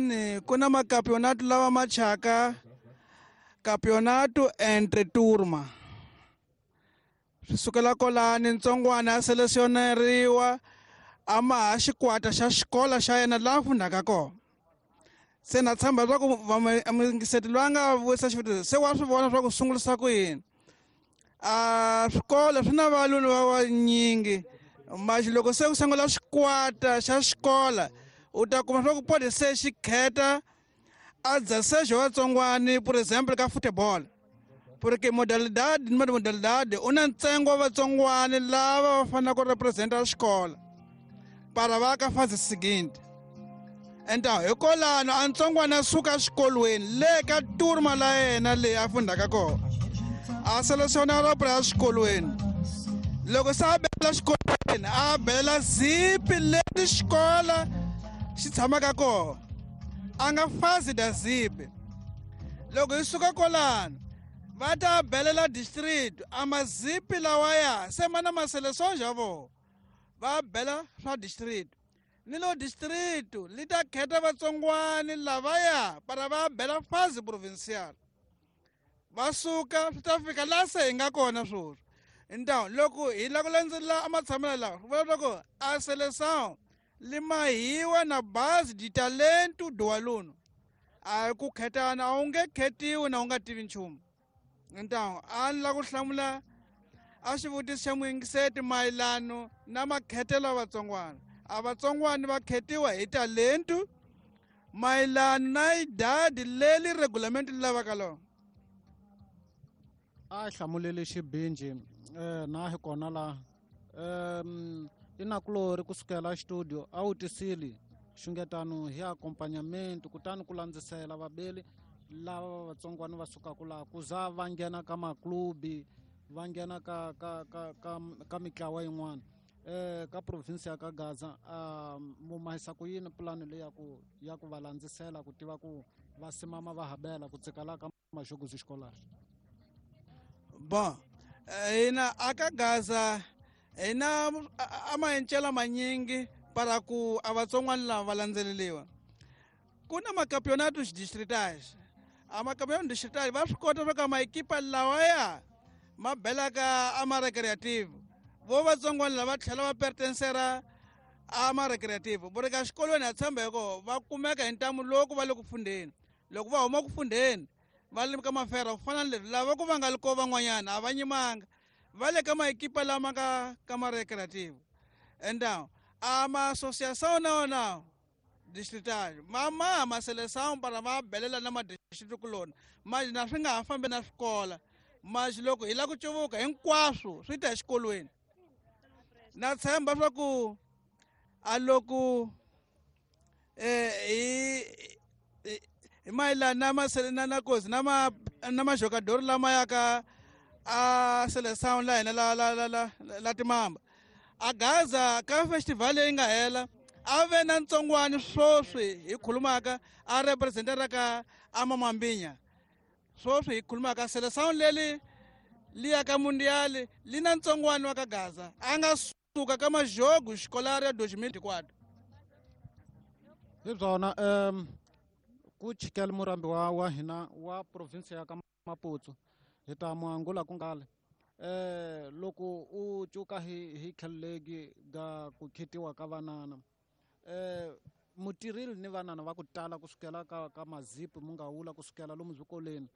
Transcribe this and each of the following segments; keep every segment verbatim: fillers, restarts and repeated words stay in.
Xikolweni ku na makampeonato lawa ma chaka campeonato entre turma. Swi sukela kolani ntsongwana a selesioneriwa a maha xikwata xa xikolo xa yena laha fundaka kona. Se na tshemba leswaku vamuyingiseti loyi a nga vutisa xivutiso se wa swi vona swa ku sungurisa ku yini. A swikolo swi na valuni va vanyingi maxi loko se ku sungula xikwata xa xikola u ta kuma swa ku podi se xi kheta a dzasejo vatsongwani, por exemple ka football, porque modalidade ni modalidade u na ntsengo wa vatsongwani lava va faneleke ku representa xikolo para va ka fase seguinte. Então hikwalano a ntsongwana a suka exikolweni le ka turma la yena leyi a fundaka kona a selesionara pra exikolweni. Loko se a bela xikolweni a bela zipi leti xikola xi tshamaka kona a nga fazi da zipi. Loko hi suka kwalano va ta belela district a mazipi lawaya se ma na maseleson xa vona va bela swa district. Ni lo district li ta khetha vatsongwani lavaya para va bela fazi provincial va suka swi ta fika laha se hi nga kona sweswi. Então loko hi lava ku landzelela a matshamelo lawa swi vula leswaku a seleção li mahiwa na base de talento do aluno. A ku khetana a wu nge khetiwi na u nga tivi nchumu. Então a ni lava ku hlamula a xivutiso xa muyingiseti mayelano na makhetelo ya vatsongwana. A vatsongwana va khetiwa hi talento mayelano na idadi leri regulamento li lavaka lona. A hlamulele xibinji eh na hi kona la um i nakulori kusukela studio a wu tisile xungetano hi accompagnament kutani ku landzisela vabeli lava vatsongwana va sukaka laha ku za va nghena ka maklubi va nghena ka ka ka ka ka mitlawa yin'wana eh ka province ya ka Gaza. A mu mahisa ku yini pulani leyi ya ku ya ku va landzisela ku tiva ku va simama va habela ku tsikala ka Maxogozi Xikolari? Bon, hina aka Gaza hina a maencela manyingi para ku a vatsongwana lava va landzeleriwa. Ku na makampeonato distritais. A makampeonato distritais va swi kota swa ka maekipa lawaya ma belaka a ma recreative. Vo vatsongwana lava tlhela va pertencera a ma recreative. Vo ka xikolweni ha tshemba hiko va kumeka hi ntamu loko va le ku fundeni. Loko va huma ku fundeni va le ka mafera ku fana na leswi lava ku va nga li ko van'wanyana a va nyimanga va le ka maekipa lama ka ka ma recreative. Então a ma associação na wona distrital ma ma ma seleção para va belela na ma district kuloni manje na swi nga ha fambi na swikola manje loko hi lava ku cuvuka hinkwaswo swi ta exikolweni. Na tshemba swa ku a loko eh hi hi mayelana na masele na na kozi na ma na majogador lama ya ka a seleção la hina la la la la la timamba a Gaza ka festival leyi nga hela a ve na ntsongwani sweswi hi khulumaka a representera ka amamambinya sweswi hi khulumaka seleção leli li ya ka mundial li na ntsongwani wa ka Gaza a nga suka ka majogo xikolari ya dois mil e quatro. Hi byona um ku chikela murambi wa wa hina wa province ya ka Maputo hi ta mu angula ku ngale eh loko u cuka hi hi khelegi ga ku khetiwa ka vanana eh mutirili ni vanana va ku tala kusukela ka ka mazipi mu nga wula kusukela lomu zwikoleni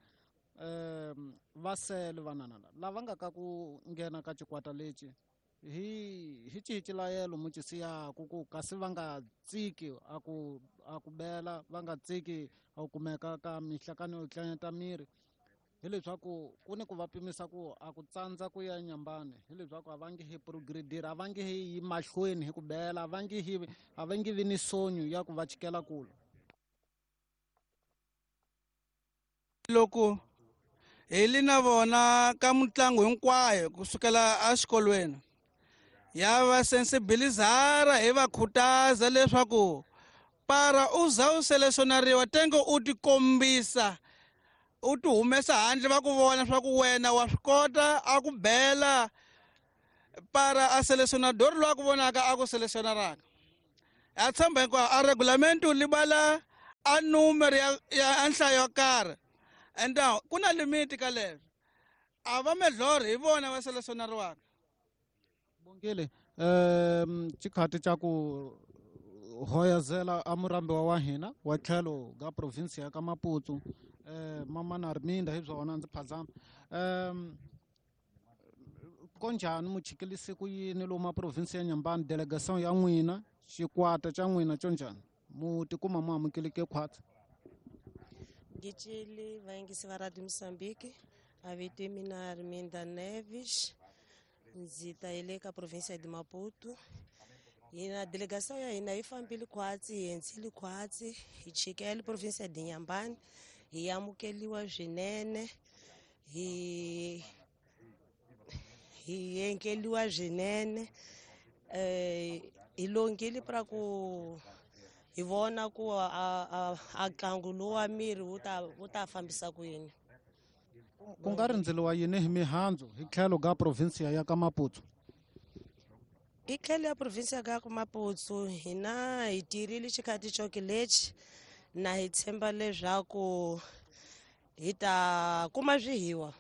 eh va sele vanana lava nga ka ku nghena ka xikwata lexi hi hi cihi xilayelo mu cisiyaku ku kasi va nga tsiki a ku a ku bela va nga tsiki a ku kumeka ka mihlakano yo tlanyeta miri hileswaku ku ni ku va pimisa ku a ku tsandza ku ya nyambani hileswaku a va nge hi progredira a va nge hi yi mahlweni hi ku bela a va nge hi a va nge vi ni sonyo ya ku va chikela kula. Loko hi li na vona ka mitlangu hinkwayo kusukela exikolweni ya va sensibilizara hi va khutaza leswaku para u za u selesionariwa tenge u tikombisa u ti humesa handle va ku vona swa ku wena wa swi kota a ku bela para a selesionador loyi a ku vonaka a ku selesionaraka. A tshemba hinkwayo a regulamento li bala a numero ya ya nhlayo yo karhi. And ku na limit ka leswo. A va medlori hi vona va selesionariwaka. Bongile, um xikhati xa ku hoyazela a murambiwa wa hina wa tlhelo ka province ya ka Maputo, eh mama Arminda hi byona ndzi phazama. Um konjhani muchikilisi ku yini lomu province ya Nyambani, delegation ya n'wina, xikwata xa n'wina xo njhani? Mu tikuma mu amukeleke khwatsi? Ngitshele vayingisi va Radio Mozambique, a vito mina Arminda Neves, ndzi ta hi le ka province de Maputo. Hina delegation ya hina yi fambile khwatsi, hi endzile khwatsi, hi chikele province de Nyambani, hi amukeliwa swinene, hi hi enkeliwa swinene, eh hi longile pra ku hi vona ku a a a ntlangu lowu wa miri wu ta wu ta fambisa ku yini. Ku nga rindzeliwa yini hi mihandzu hi tlhelo ka province ya ka Maputo? Hi tlhelo ya province ya ka Maputo hina hi tirhile xikhathi xoke lexi na hi tshemba leswaku hi ta kuma swihiwa.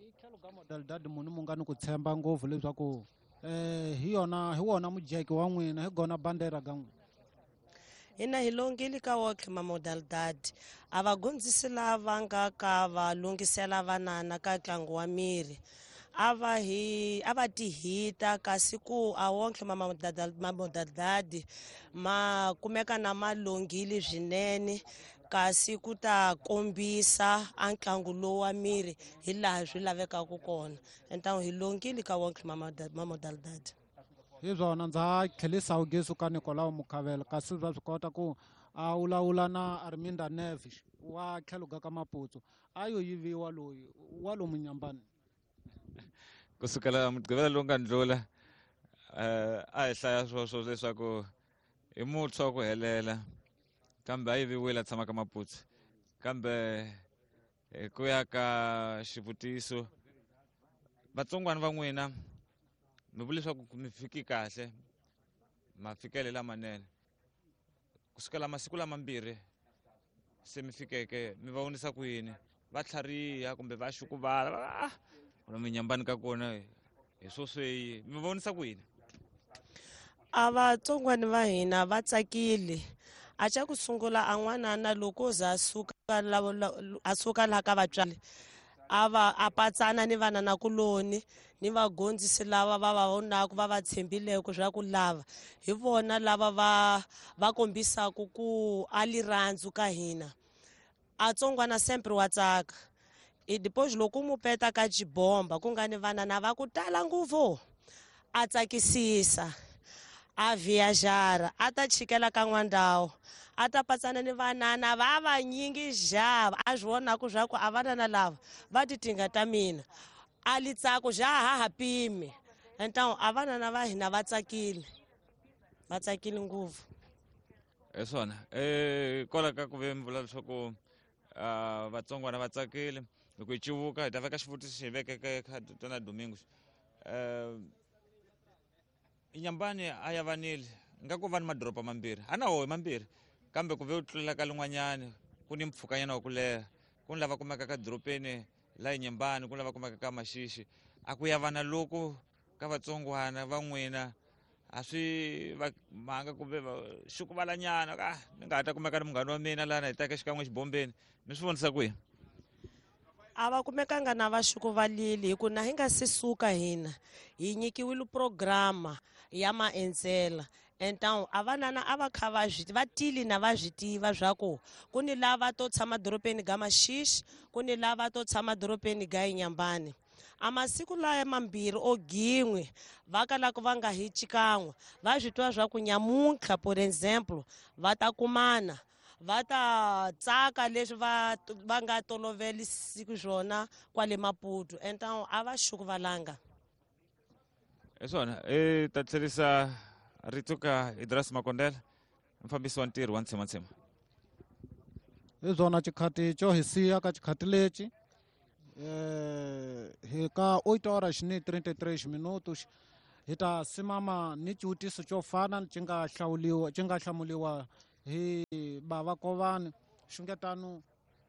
Hi tlhelo ka modalidade munhu mu nga ni ku tshemba ngopfu leswaku eh hi yona hi wona mujeke wa n'wina, hi gona bandera ka n'wina? Hina hi longile ka wonke ma modalidade. A va gondzisi lava nga ka va lunghisela vanana ka ntlangu wa miri. A va hi a va tihita kasi ku a wonke ma modalidade ma kumeka na ma longile swinene, kasi ku ta kombisa a ntlangu lowu wa miri hi laha swi lavekaka kona. Entamu hi longile ka wonke ma modalidade. Hi swona ndza tlhelisa ugesu ka Nicolau Mukhavela, kasi va swi kota ku a vulavula na Arminda Neves wa tlhelo ka Maputo, a yo yiviwa loyi wa lomu Nyambani. Kusukela mugqivela lowu nga ndlula, eh a hi hlaya swoswo leswaku i muntshwa ku helela, kambe a yiviwile a tshama ka Maputo. Kambe hi ku ya ka xivutiso, vatsongwana va n'wina mi vula leswaku mi fiki kahle, mafikele lamanene. Kusukela masiku lamambirhi se mi fikeke, mi va vonisa ku yini? Va tlhariha kumbe va xukuvala? Ah, mi Nyambani ka kona hi swo sweyi, mi va vonisa ku yini? A vatsongwana va hina va tsakile. A xa ku sungula a n'wanana loko za a suka a suka laha ka vatswari, a va a patsana ni vananakuloni ni vagondzisi lava va va vonaka va va tshembileke swa ku lava hi vona lava va va kombisaka ku a lirhandzu ka hina. A tsongwana sempre wa tsaka. E depois loko mu peta ka xibomba ku nga ni vanana va ku tala ngopfu, a tsakisisa, a viajara, a ta chikela ka n'wandhawu, a ta patsana ni vanana va vanyingi xava, a swi vonaka swa ku a vanana lava va ti tinga ta mina, a litsako xa ha ha pimi. Então a vanana va hina va tsakile, va tsakile ngopfu. Hi swona, eh kwala ka ku ve mi vula leswaku vatsongwana va tsakile. Loko hi civuka hi ta veka xivutiso xi hi vekeke ka Tona Domingos. Eh Nyambani a ya vanile nga ku va ni madoroba mambirhi, a na woho mambirhi, kambe ku ve u tlulela ka lin'wanyani ku ni mpfhukanyana wa ku leha, ku ni lava kumeka ka dorobeni la Nyambani, ku ni lava kumeka ka Maxixi. A ku ya vana loko ka vatsongwana va n'wina a swi va mhanga kumbe xukuvalanyana, ah ni nga ha ta kumeka ni munghana wa mina lana hi taka xikan'we xibombeni, mi swi vonisa kwihi? A va kumekanga na va xukuvalile, hi ku na hi nga se suka hina hi nyikiwile programa ya maendzela. Então a vanana a va kha va swi va tili na va swi tiva swa ku ku ni lava to tshama dorobeni ga Maxixi, ku ni lava to tshama dorobeni ga Nyambani. A masiku laya mambirhi o gin'we va kalaka va nga hi xikan'we, va swi twa swa ku nyamuntlha por exemple va ta kumana, va ta tsaka leswi va va nga tolovelisiku swona kwale Maputo. Então a va xukuvalanga. Hi swona, i ta tlherisa rito ka Idras Makondela, mufambisi wa ntirho wa Ntshema-Ntshema. Hi swona xikhati xo hi siya ka xikhati lexi, eh hi ka oito horas ni trinta e três minutos hi ta simama ni xivutiso xo fana xi nga hlawuliwa, xi nga hlamuliwa hi Bava Kovani xungetano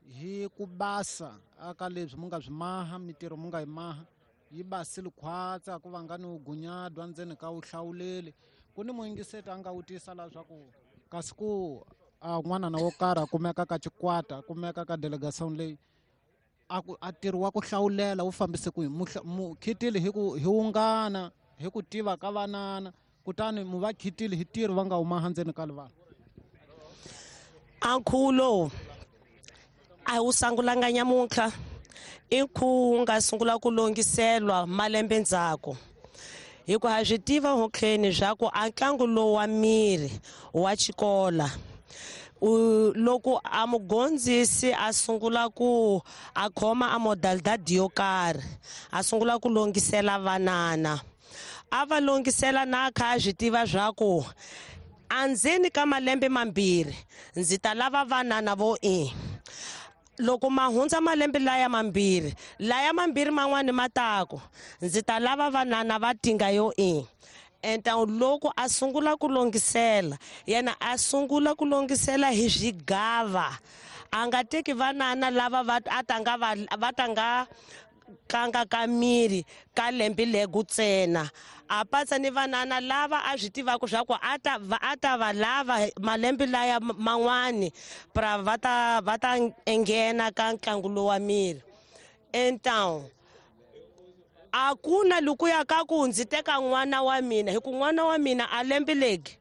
hi ku basa aka leswi mu nga swi maha mitirho mu nga yi maha yi basile khwatsa ku va nga ni gunyadwa ndzeni ka wuhlawuleli ku ni muyingiseti a nga wutisa la swa ku kasi ku a n'wana na wo karhi a kumeka ka xikwata a kumeka ka delegation leyi a ku a ntirho wa ku hlawulela wu fambise kwihi mu khitile hi ku hi wungana hi ku tiva ka vanana kutani mu va khitile hi ntirho va nga huma ndzeni ka livala a nkhuvo lowu a wu sungulanga nyamuntlha i nkhuvo wu nga sungula ku longhiselwa malembe ndzhaku hikuva ha swi tiva hotleni swa ku a ntlangu lowu wa miri wa xikola loko a mugondzisi a sungula ku a khoma a modalidade yo karhi a sungula ku longhisela vanana a va longhisela na kha a swi tiva swa ku andzeni ka malembe mambirhi ndzi ta lava vanana vo i loko ma hundza malembe laya mambirhi laya mambirhi man'wani ma taku ndzi ta lava vanana va tinga yo i então loko a sungula ku longhisela yena a sungula ku longhisela hi swigava a nga teki vanana lava va a tanga va va tanga tlanga ka miri ka lembe legu ntsena a patsa ni vanana lava a swi tivaka swa ku a ta va a ta va lava malembe laya man'wani pra va ta va ta enghena ka ntlangu lowu wa miri então a ku na loko ya ka ku ndzi teka n'wana wa mina hi ku n'wana wa mina a lembe legi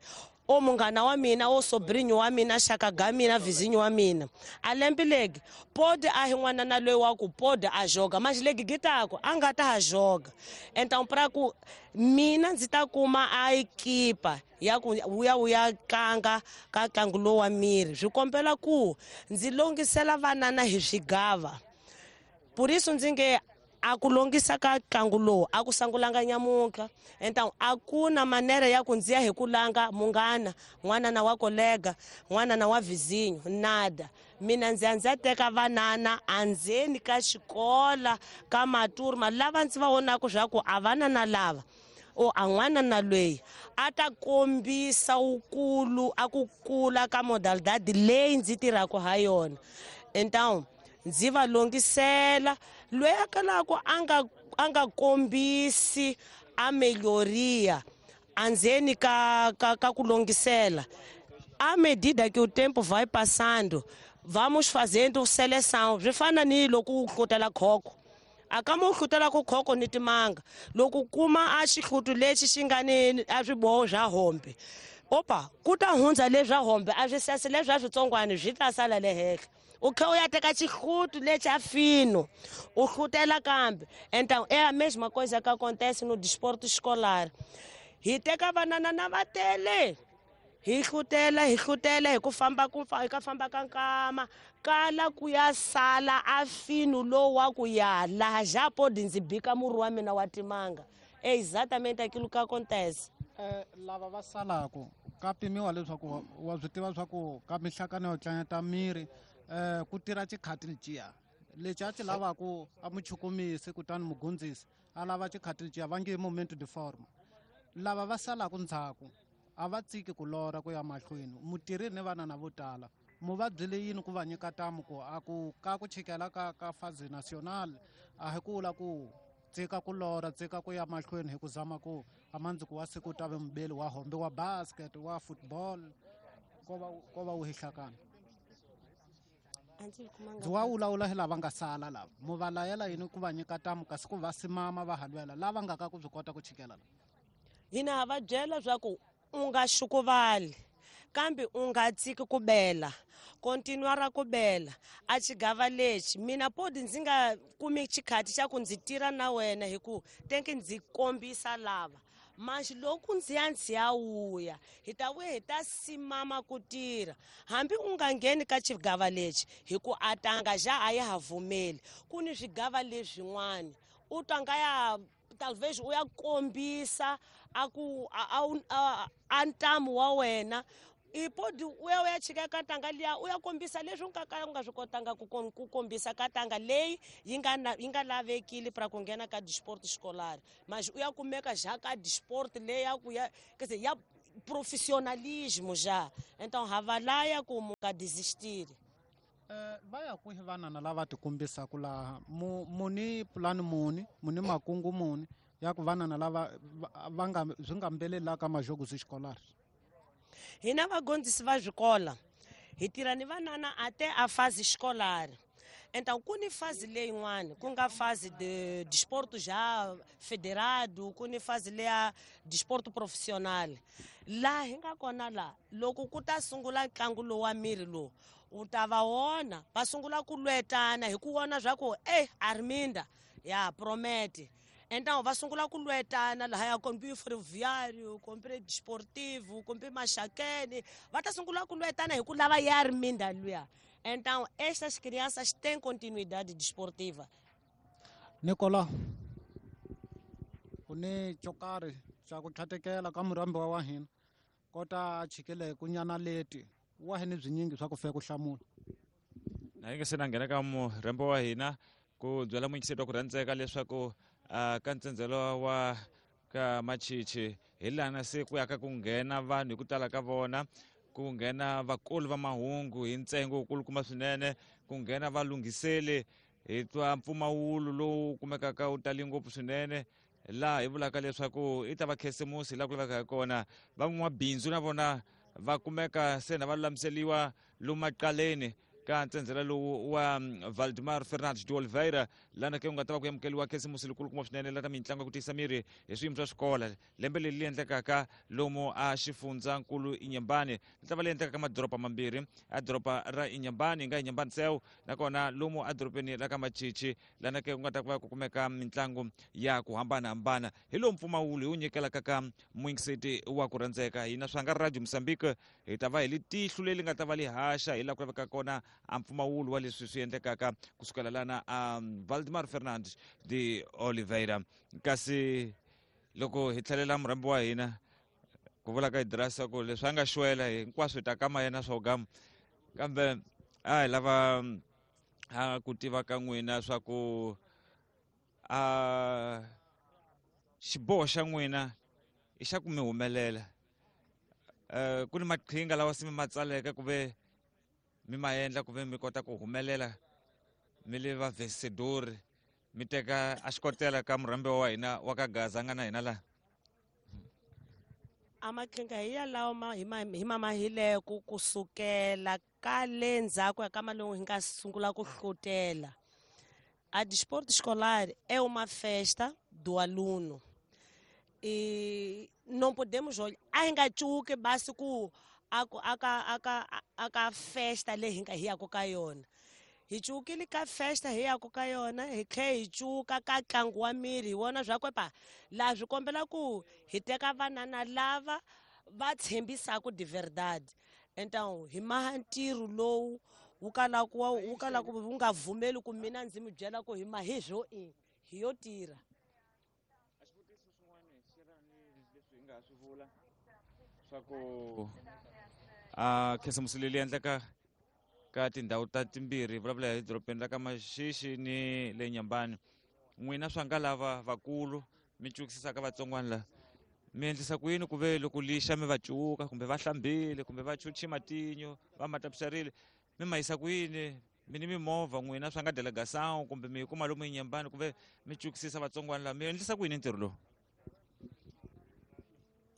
o munghana wa mina o sobrinho wa mina xaka ga mina vizinho wa mina a lembe legi pode a hi n'wana na loyi wa ku pode a joga mas legi gitako a nga ta ha joga então pra ku mina ndzi ta kuma a ekipa ya ku wuya wuya tlanga ka ntlangu lowu wa miri swi kombela ku ndzi longhisela vanana hi swigava por isso ndzi nge a ku longhisa ka ntlangu lowu a ku sungulanga nyamuntlha então a ku na manera ya ku ndzi ya hi ku langa munghana n'wanana wa kolega n'wanana wa vizinho nada mina ndzi ya ndzi ya teka vanana andzeni ka xikola ka maturma lava ndzi va vonaka swa ku a vanana lava o a n'wana na loyi a ta kombisa wukulu a ku kula ka modalidade leyi ndzi tirhaka ha yona então ndzi va longhisela loyi a kalaka a nga a nga kombisi a melhoria andzeni ka ka ka ku longhisela à medida que o tempo vai passando vamos fazendo seleção swi fana ni loko u hlutela khokho a ka mo hlutela ku khokho ni timanga loko kuma a xihlutu lexi xi nga ni a swiboho swa hombe opa ku ta hundza leswa hombe a swi sasi leswa switsongwana swi ta sala le henhla u kha u ya teka xihlutu lexi a fino u hlutela kambe então é a mesma coisa que acontece no desporto escolar hi teka vanana na va tele hi hlutela hi hlutela hi ku famba ku hi ka famba ka nkama kala ku ya sala a fino lowu wa ku ya laha já pode ndzi bika murhi wa mina wa timanga é exatamente aquilo que acontece eh lava va salaka ka pimiwa leswaku wa swi tiva swa ku ka mihlakano yo tlangeta miri eh ku tirha xikhati leciya lexi a xi lavaku a muchukumisi kutani mugundzisi a lava xikhati leciya va nge momento de forma lava va salaka ndzhaku a va tsiki ku lora ku ya mahlweni mutirhi ni vanana vo tala mu va byele yini ku va nyika tamu ku a ku ka ku chikela ka ka phase national a hi ku la ku tsika ku lora tsika ku ya mahlweni hi ku zama ku a mandzuku wa siku ta ve mubeli wa hombe wa basket wa football ko va ko va wu hihlakana ndzi wa wulawula hi lava nga sala lava mu va layela yini ku va nyika tamu kasi ku va simama va halwela lava nga ka ku byi kota ku chikela la hina ha va byela swa ku u nga xukuvali kambe u nga tsiki ku bela continuar ku bela a xigava lexi mina podi ndzi nga kumi xikhati xa ku ndzi tirha na wena hi ku tenke ndzi kombisa lava mas loko ndzi ya ndzi ya wuya hi ta vuya hi ta simama ku tirha hambi u nga ngheni ka xigava lexi hi ku a tanga ja a ya ha vumeli ku ni swigava leswin'wana u tanga ya talvez u ya kombisa a ku a a ntamu wa wena i podi u ya u ya chika ka tanga liya u ya kombisa leswi u nga ka u nga swi kotanga ku ku kombisa ka tanga leyi yi nga yi nga lavekile pra ku nghena ka disport escolar mas u ya kumeka ja ka disport leyi ya ku ya quer dizer ya profissionalismo já. Então havalaya ku nga desistir. Eh va ya kwihi vanana lava tikombisaka laha muni pulani muni muni makungu muni ya ku vanana lava va nga swi nga mbelelaka majogo escolares? Hina vagondzisi va swikola hi tirha ni vanana até a fase escolar. Então ku ni fase leyin'wana ku nga fase de desporto já federado, ku ni fase leya desporto profissional. Laha hi nga kona la loko ku ta sungula ntlangu lowu wa miri lowu u ta va wona va sungula ku lwetana hi ku vona swa ku eh Arminda ya promete. Então va sungula ku lwetana lahaya kombi ferroviário, kombi desportivo, kombi Maxakeni, va ta sungula ku lwetana hi ku lava ya Arminda luya. Então estas crianças têm continuidade desportiva. Nicola, u ni xo karhi xa ku tlhatekela ka murhambiwa wa hina kota chikele ku nyana leti wa hina byinyingi swa ku fika ku hlamula. Na yi nga se na nghena ka murhambiwa wa hina ku byela muyingiseri wa ku rhandzeka leswaku Uh, ka ntsendzelo wa ka Machichi hi lana se ku ya ka ku nghena vanhu hi ku tala ka vona, ku nghena vakulu va mahungu hi ntsengo wukulukumba swinene, ku nghena valunghiseli hi twa mpfumawulo lowu kumekaka wu tali ngopfu swinene laha hi vulaka leswaku i ta va khisimusi laha ku laveka hi kona. Van'wamabindzu na vona va kumeka se na va lulamiseliwa lomu maqaleni ka ntsendzela lowu wa Valdemar Fernandes de Oliveira lana ke ku nga ta va ku amukeriwa khisimusi likulukumba swinene la ta mitlangu ya ku tiyisa miri hi swiyimo swa swikola lembe leri li endlekaka lomu a xifundzankulu Inhambane li ta va li endlekaka madoroba mambirhi, a doroba ra Inhambane hi nga Inhambane Seu nakona lomu edorobeni ra ka Machichi lana ke ku nga ta va ku kumeka mitlangu ya ku hambanahambana. Hi lowu mpfumawulo hi wu nyikelaka ka muyingiseti wa ku rhandzeka hina swa nga Radio Mozambique hi ta va hi li tihlo leri nga ta va li haxa hi laha ku lavekaka kona a mpfumawulo wa leswi swi endlekaka kusukela lana a Valdemar Fernandes de Oliveira. Kasi loko hi tlhelela murhambi wa hina ku vula ka Idrasa ku leswi a nga xwela hinkwaswo hi ta kama yena swa gama, kambe a hi lava a ku tiva ka n'wina swa ku a xiboho xa n'wina i xa ku mi humelela. Ku ni maqhinga lawa se mi ma tsaleke ku ve mi ma endla ku ve mi kota ku humelela mi le va vencedor mi teka a xikotela ka murhambiwa wa hina wa ka Gaza nga na hina laha? A maqhinga hi yalawo ma hi ma hi ma mahileko kusukela ka le ndzhaku ya ka malembe hi nga sungula ku hlutela. A desporto escolar é uma festa do aluno. E não podemos olhar, a hi nga cuki basi ku aka aka aka festa leyi hi nga hi yaka ka yona. Hi cukile ka festa hi yaka ka yona, hi tlhe hi cuka ka ntlangu wa miri hi vona swa ku pa laha swi kombela ku hi teka vanana lava va tshembisaka de verdade. Então hi maha ntirho lowu wu kalaka wu kalaka wu nga vumeli ku mina ndzi mi byela ku hi mahi swo i hi yo tirha. A xivutiso xin'wana xi ra ni leswi hi nga swi vula swa ku a khisimusi leyi endleka ka tindhawu ta timbirhi, vulavula hi dorobeni ra ka Maxixi ni le Inhambane. N'wina swa nga lava vakulu mi cukisisaka vatsongwana la mi endlisa ku yini ku ve loko lixa mi va cuka kumbe va hlambile kumbe va chuchi matinyo va matapisarile mi ma yisa ku yini? Mi ni mimovha n'wina swa nga delegação kumbe mi kuma lomu Inhambane ku ve mi cukisisa vatsongwana la mi endlisa ku yini ntirho lowu?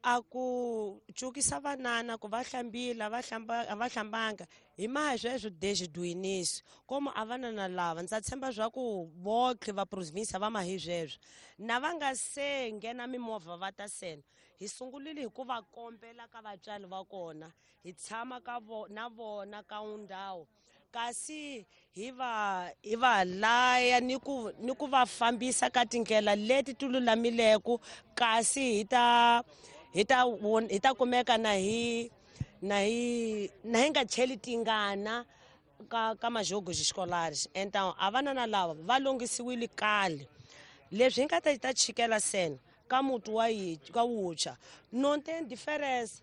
A ku cukisa vanana ku va hlambile va hlamba a va hlambanga hi maha sweswo desde do início como a vanana lava ndza tshemba swa ku votlhe va província va mahi sweswo na va nga se nghena mimovha va ta sena hi sungurile hi ku va kombela ka vatswari va kona hi tshama ka vo na vona ka ndhawu kasi hi va hi va laya ni ku ni ku va fambisa ka tindlela leti ti lulamileke kasi hi ta hi ta hi ta kumeka na hi na hi na hi nga cheli tingana ka ka majogo escolares. Então a vanana lava va lunghisiwile kale leswi hi nga ta ta chikela sena ka muti wa yi ka wuntshwa não tem diferença.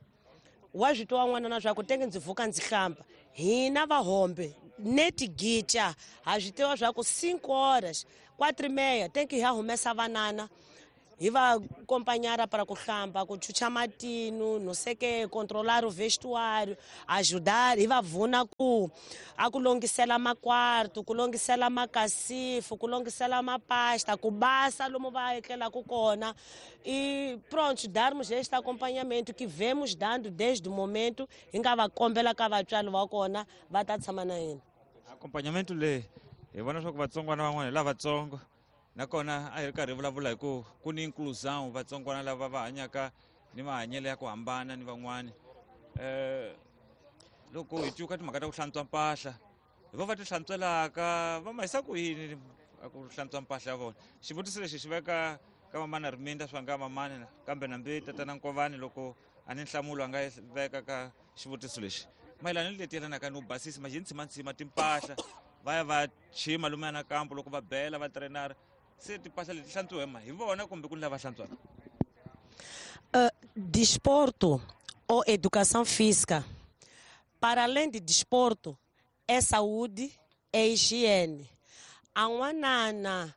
Wa swi twa n'wana na swa ku tenge ndzi vuka ndzi hlamba hina vahombe neti gicha ha swi tiva swa ku cinco horas quatro e meia tem que hi humesa vanana Hi va acompanhar para ku hlamba, ku chucha matino, não sei que, controlar o vestuário, ajudar, hi va pfuna ku a ku longhisela makwarto, ku longhisela makasifu, ku longhisela mapasta, ku basa lomu va etlelaka kona. E pronto, darmos este acompanhamento que vemos dando desde o momento hi nga va kombela ka vatswari va kona va ta tshama na hina. Acompanhamento leyi hi vona swa ku vatsongwana van'wana hi lavatsongo, nakona a hi ri karhi hi vulavula hi ku ku ni inclusão, vatsongwana lava va hanyaka ni mahanyelo ya ku hambana ni van'wani. um loko hi cuka timhaka ta ku hlantswa mpahla, hi vo va ti hlantswelaka, va ma hisa ku yini a ku hlantswa mpahla ya vona? Xivutiso lexi xi veka ka mamana Riminda swa nga mamani, kambe nambi tatana Nkovani loko a ni nhlamulo a nga yi veka ka xivutiso lexi mayelana ni leti yelanaka ni ku basisa majintshimantsima timpahla, va ya va chima lomuya na kampo loko va bela va trainara, se timpahla leti hlantswiwa ma hi vona kumbe ku ni lava hlantswaka? Uh, desporto ou educação física, para além de desporto, é saúde, é higiene. A n'wanana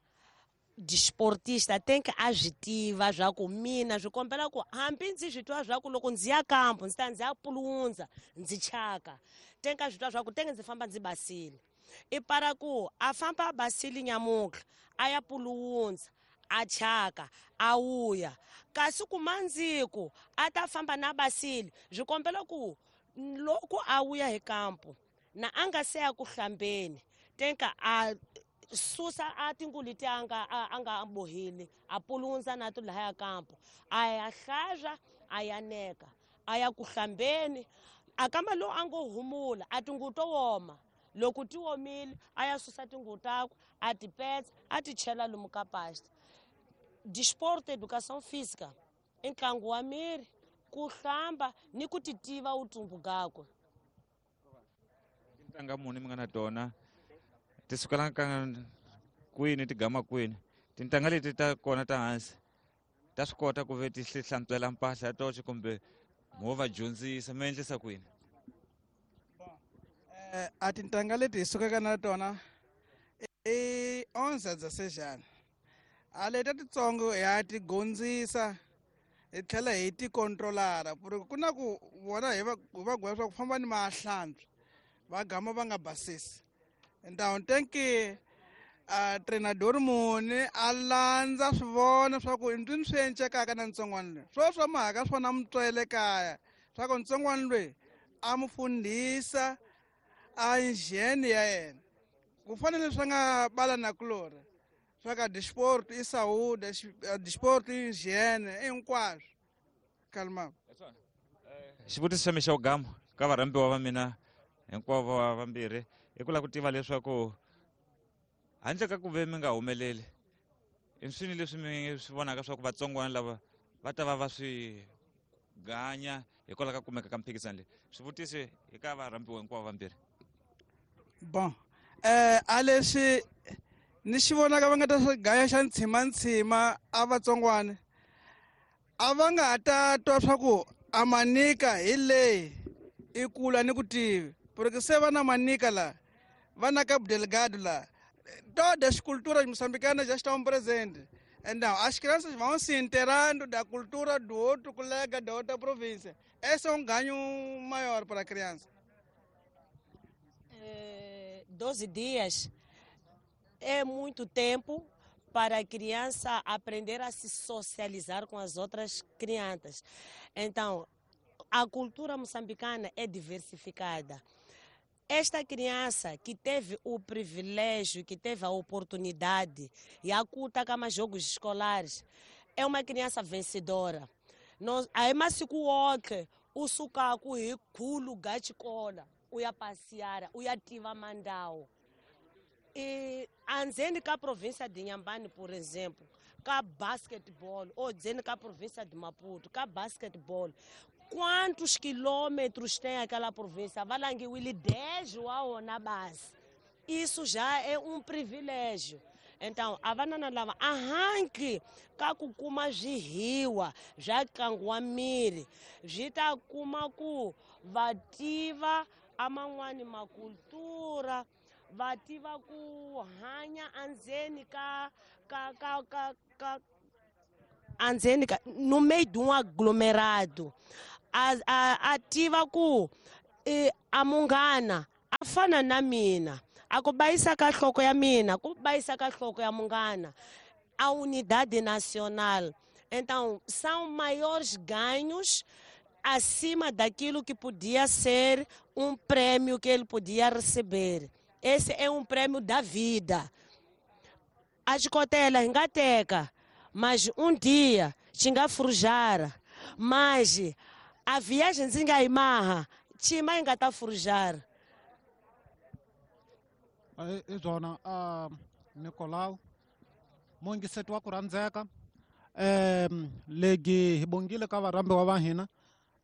desportista tem que agitiva swa ku mina swi kombela ku hambi ndzi swi twa swa ku loko ndzi ya kampo ndzi ta ndzi ya pulundza ndzi chaka, tem que swi twa swa ku tenge ndzi famba ndzi basile. I para ku a famba a basile nyamutlha a ya pulundza a chaka a wuya, kasi ku mandziku a ta famba na basile, swi kombela ku loko a wuya hi kampo na a nga se ya ku hlambeni tenka a susa a tingulu leti a nga a nga bohile, a pulundza na to lahaya kampo, a ya hlazwa a ya neka a ya ku hlambeni, a kamba lowu a ngo humula a tinguvu to woma, loko ti omile a ya susa tinguvu takwe a ti petsa a ti chela lomu ka pasta. Desporto, educação física i ntlangu wa miri, ku hlamba ni ku ti tiva vutumbu gakwe. Tintangha muni mi nga na tona ti sukela ka kwini ti gama kwini? Tintangha leti ta kona ta hansi ta swi kota ku ve ti hlantswela mpahla ya toxe kumbe mo va dyondzisa, mi endlisa kwini? Eh, a tintangha leti hi sukaka na tona i onze dezesseis. A leti titsongo ya ti gondzisa hi tlhela hi ti controlara, ku na ku vona hi va hi va gweva swa ku famba ni mahlantswa va gama va nga basisi. Então tem que a treinador muni a landza swi vona swa ku ndzi swi encekaka na ntsongwana loyi, swo swa mhaka swona mutswele kaya swa ku ntsongwana loyi a mu fundhisa a hygiene ya yena, ku fana leswi nga bala na kulori swa ka desporto i saúde, desporto i hygiene hinkwaswo. Kalma xivutiso xa mina xa vugamu ka varhambiwa va mina hinkwavo va vambirhi i ku lava ku tiva leswaku handle ka ku ve mi nga humeleli, i swini leswi mi swi vonaka swa ku vatsongwana lava va ta va va swi ganya hikwalaho ka kumeka ka mphikizano leyi? Swivutiso hi ka varhambiwa hinkwavo vambirhi. Bon, eh a leswi ni xi vonaka va nga ta swi gaya xa ntshimantsima a vatsongwana a va nga ta twa swa ku a manika hi leyi i kula ni ku tivi, porque se va na manika la va na Cabo Delgado la, todas as culturas moçambicanas já estão presentes. Então, as crianças vão se inteirando da cultura do outro colega da outra província. Esse é um ganho maior para a criança. É, doze dias é muito tempo para a criança aprender a se socializar com as outras crianças. Então, a cultura moçambicana é diversificada. Esta criança que teve o privilégio, que teve a oportunidade e a culta kama jogos escolares, é uma criança vencedora. Aí masiku wonke usuka ku hi khulu ga xikolo u ya passear, u ya tiva mandawo. E andzeni ka província de Inhambane, por exemplo, ka basketball, ou dizendo ka província de Maputo, ka basketball, quantos quilômetros tem aquela província? Valangiwile dez wa na base. Isso já é um privilégio. Então, a vanana lava arranque ka ku kuma zwihiwa zwa ntlangu wa miri zwi ta kuma ku va tiva aman'wani makultura, va tiva ku hanya andzeni ka ka ka ka ka andzeni ka no meio de um aglomerado a, a, a tiva ku e, a munghana a fana na mina a ku bayisa ka nhloko ya mina ku bayisa ka nhloko ya munghana a unidade nacional. Então são maiores ganhos acima daquilo que podia ser um prêmio que ele podia receber. Esse é um prêmio da vida. A xikotela hi nga teka, mas um dia xi nga forjar. Mas a viagem ndzi nga yi maha, chima yi nga ta forjar. I byona Nicolau mungiseti wa ku rhandzeka um legi hi bongile ka varhambiwa va hina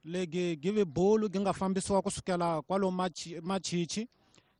legi give bulu gi nga fambisiwa kusukela kwalomu Machichi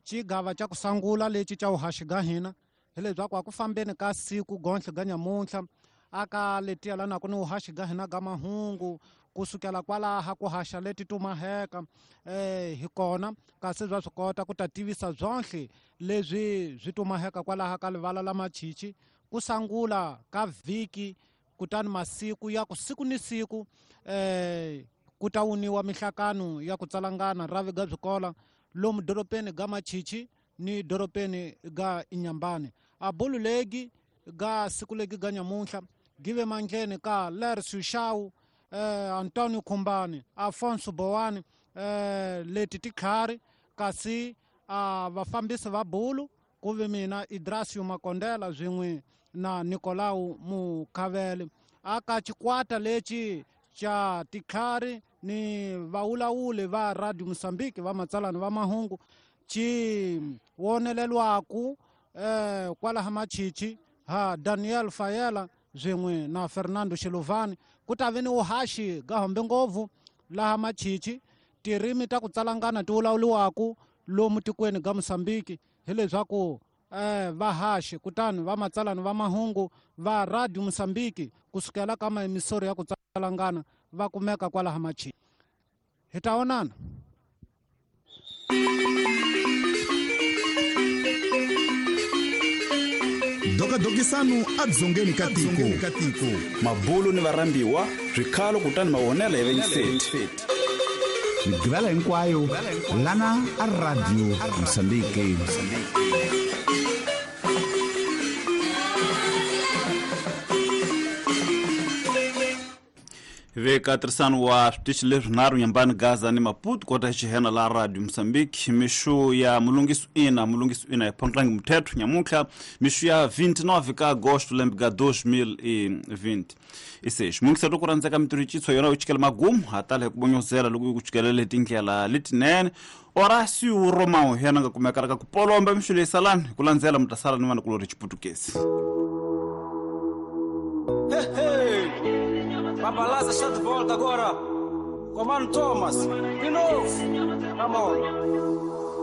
xigava xa ku sungula lexi xa vuhaxi ga hina hi leswaku a ku fambeni ka siku gontlhe ga nyamuntlha aka letiya lana ku ni vuhaxi ga hina ga mahungu kusukela kwalaha ku haxa leti tumaheka eh hi kona kasi bya swi kota ku ta tivisa byonhle leswi swi tumaheka kwalaha ka livala la Machichi ku sungula ka vhiki kutani masiku ya ku siku ni siku eh ku ta wuniwa mihlakano ya ku tsalangana ravi ga byikola lomu doropeni ga Machichi ni doropeni ga Inyambane a bulu legi ga siku legi ga nyamuntlha give mandleni ka Lercio Shau eh, Antonio Kumbani Afonso Bowani eh, leti tikhari kasi a vafambisi va bulu ku ve mina Idrasio Makondela swin'we na Nicolau Mukhavele aka xikwata lexi xa tikhari ni vaulawuli va Radio Mozambique va matsalani va mahungu xi wonelelwaku eh, kwalaha Machichi ha Daniel Fayela swin'we na Fernando Xilovani ku ta ve ni vuhaxi ga hombe ngopfu laha Machichi tirimi ta ku tsalangana ti vulavuriwaku lomu tikweni ga Mozambique hileswaku eh, vahaxi kutani va matsalani va mahungu va Radio Mozambique kusukela ka maemisori ya ku tsalangana va kumeka kwalaha Machichi. Hi ta vonana. Dokadokisanu adzongeni ka tiko mabulu ni varhambiwa swikhalo kutani mavonelo ya venseti migivela hinkwayo lana a Radio Mozambique. Veka tirhisano wa switichi leswinharhu Nyambani, Gaza ni Maputo kota xihena la Radio Mozambique mixu ya mulungiso ina mulungiso ina ya Pontlangi Muthetho nyamuntlha mixu ya vinte e nove ka agosto lembe ka dois mil e vinte e seis mungiseti ku rhandzeka mitirho yona yo chikela magumu ha tala hi ku bonyozela loko ku chikelele tindlela letinene Horácio Romão yena nga kumeka ka ku polomba mixu leyi salani hi ku landzela mi ta sala ni vanakulori xiputukezi. Hey, hey. Babalaza está de volta agora. Comando Thomas. De novo. Ramon.